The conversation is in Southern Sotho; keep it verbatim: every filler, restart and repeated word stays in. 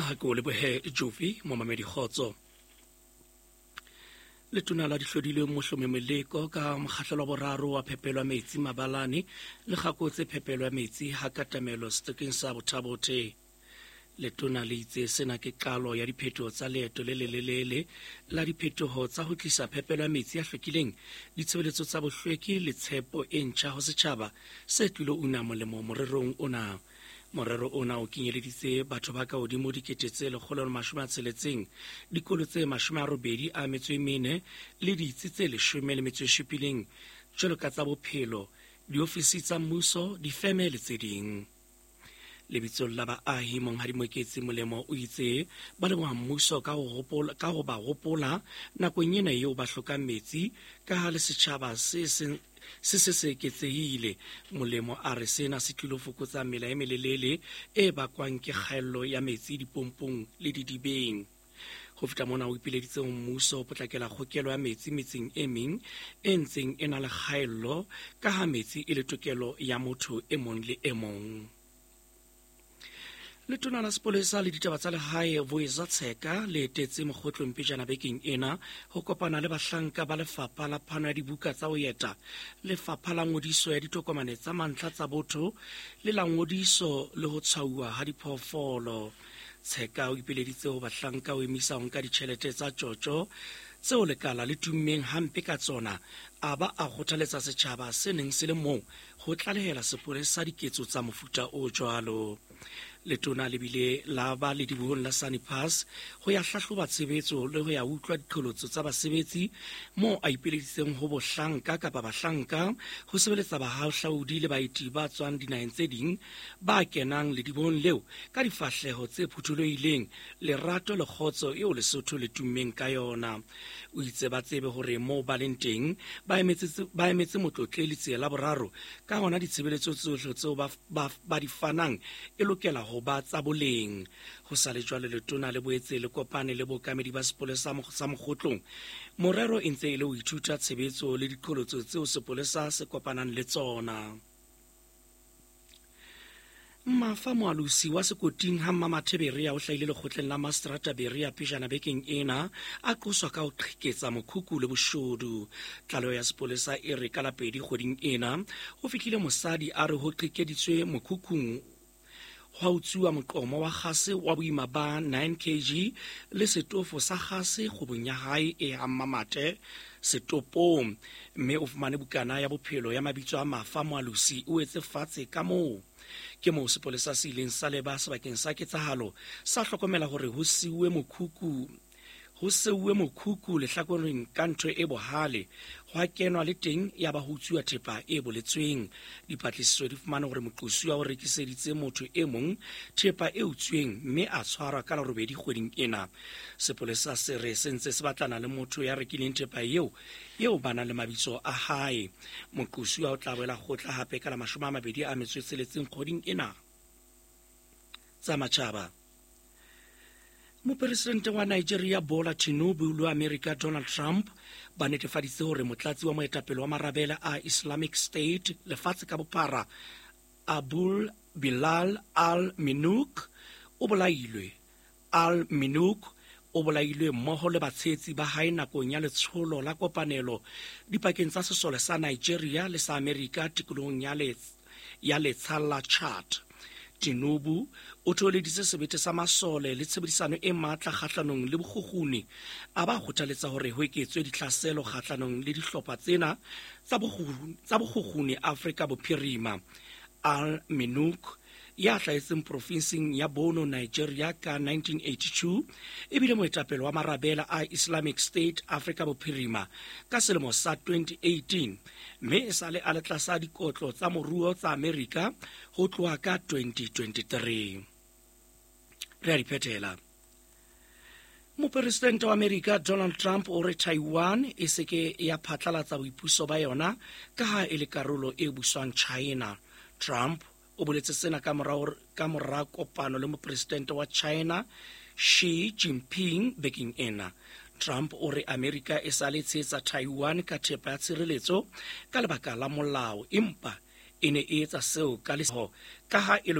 Ha ke o lebohe Jovi, momamedi kgotso. Letona la dihlodilweng Mohlomi Moleko ka mokgahlelo wa boraro wa phepelo ya metsi Mabalane le kgakotse phepelo ya metsi ha katamelo setekeng sa Bothabothe. Letona le itse sena ke qalo ya diphetoho tsa leeto le lelelele la diphetoho tsa ho tlisa phepelo ya metsi a hlwekileng, ditshebeletso tsa bohlweki le tshepo e ntjha ho setjhaba se tlilo una molemo morerong ona. Morero ona o kenyeleditse batho ba ka hodimo dikete tse lekgolo le mashome a tsheletseng, dikolo tse mashome a robedi a metso e mene le ditsi tse leshome le metso e supileng jwalo ka tsa bophelo, diofisi tsa mmuso, difeme le tse ding. Lebitsong la baahi, Monghadi Moketsi Molemo o itse ba leboha mmuso ka ho hopola, ka ho ba hopola nakong ena eo ba hlokang metsi ka ha le setjhaba se seng se se se eketsehile. Molemo a re sena se tlilo fokotsa mela e melelele e bakwang ke kgaello ya metsi dipompong le didibeng. Ho feta mona, o ipileditse ho mmuso ho potlakela kgokelo ya metsi metseng e meng e ntseng e na le kgaello ka ha metsi e le tokelo ya motho e mong le e mong. Letona la sepolesa le ditaba tsa lehae Voiza Tsheka le etetse Mokgotlong pejana bekeng ena ho kopana le bahlanka ba lefapha la phano ya dibuka tsa ho eta, lefapha la ngodiso ya ditokomane tsa mantlha tsa botho le la ngodiso le ho tshwauwa ha diphoofolo. Tsheka o ipileditse ho bahlanka ho emisa ho nka ditjhelete tsa tjotjo tseo lekala le tummeng hampe ka tsona, a ba a kgothaletsa setjhaba se neng se le moo ho tlalehela sepolesa diketso tsa mofuta o jwalo. Letona le bile la ba ledibohong la Sunny Pass ho ya hlahloba tshebetso le ho ya utlwa diqholotso tsa basebetsi moo a ipileditseng ho bohlanka kapa bahlanka ho sebeletsa bahahlaudi le baeti ba tswang dinaheng tse ding ba kenang ledibohong leo ka difahleho tse phuthulohileng, lerato le kgotso eo Lesotho le tummeng ka yona. O itse ba tsebe hore moo ba leng teng ba emetse ba emetse motlotleli tsela boraro, ka hona ditshebeletso tsohle tseo ba, ba, ba di fanang e lokela ho ba tsa boleng. Ho sa le jwalo, letona le boetse le kopane le bookamedi ba sepolesa sa Mokgotlong. Morero e ntse e le ho ithuta tshebetso le diqholotso tseo sepolesa se kopanang le tsona. Mafa Moalosi wa sekoting ha Mmamathe Berea o hlahile lekgotleng la Mastrata Berea pejana bekeng ena a qoswa ka ho qheketsa mokhukhu le boshodu. Tlaleho ya sepolesa e re ka la pedi kgweding ena ho fihlile mosadi a re ho qhekeditswe mokhukhung hwa utsuwa moqomo wa kgase wa boima ba nine kilograms le setofo sa kgase kgwebong ya hae e ha Mmamathe setopong, mme o fumane bukana ya bophelo ya mabitso a Mafa Moalosi o etse fatshe ka moo. Ke moo sepolesa se ileng sa leba sebakeng sa ketsahalo sa hlokomela hore ho siuwe mokhukhu ho seuwe mokhukhu lehlakoreng ka ntho e bohale, hwa kenwa le teng ya ba ho utsuwa thepa e boletsweng. Dipatlisiso di fumane hore moqosuwa o rekiseditse motho e mong thepa e utsweng mme a tshwarwa ka la robedi kgweding ena. Sepolesa se re se ntse se batlana le motho ya rekileng thepa eo eo ba nang le mabitso a hae. Moqosuwa o tla boela kgotla hape ka la mashome a mabedi a metso e tsheletseng kgweding ena. Tsa matjhaba. Mopresidente wa Nigeria Bola Tinubu le wa Amerika Donald Trump ba netefaditse hore motlatsi wa moetapele wa marabele a Islamic State lefatshe ka bophara Abul Bilal al-Minouk o bolailwe. Al-Minouk o bolailwe mmoho le batshehetsi ba hae nakong ya letsholo la kopanelo dipakeng tsa sesole sa Nigeria le sa Amerika tikolohong ya ya letsha la Chad. Tinubu o thoholeditse sebete sa masole le tshebedisano e matla kgahlanong le bokgukguni, a ba kgothaletsa hore ho eketswe ditlhaselo kgahlanong le dihlopha tsena tsa bokgukguni Afrika Bophirima. Al-Minouk ya hlahetseng profinseng ya Borno, Nigeria ka nineteen eighty-two ebile moetapele wa marabele a Islamic State Afrika Bophirima ka selemo sa twenty eighteen, mme e sale a le tlasa dikotlo tsa moruo tsa Amerika ho tloha ka twenty twenty-three. Re a di phethela. Mopresidente wa Amerika Donald Trump o re Taiwan e se ke ya phatlalatsa boipuso ba yona ka ha e le karolo e buswang China. Trump o boletse sena ka mora ka mora kopano le mopresidente wa China Xi Jinping bekeng ena. Trump o re Amerika e sa le tshehetsa Taiwan ka thepa ya tshireletso ka lebaka la molao, empa e ne e etsa seo ka leho ka ha e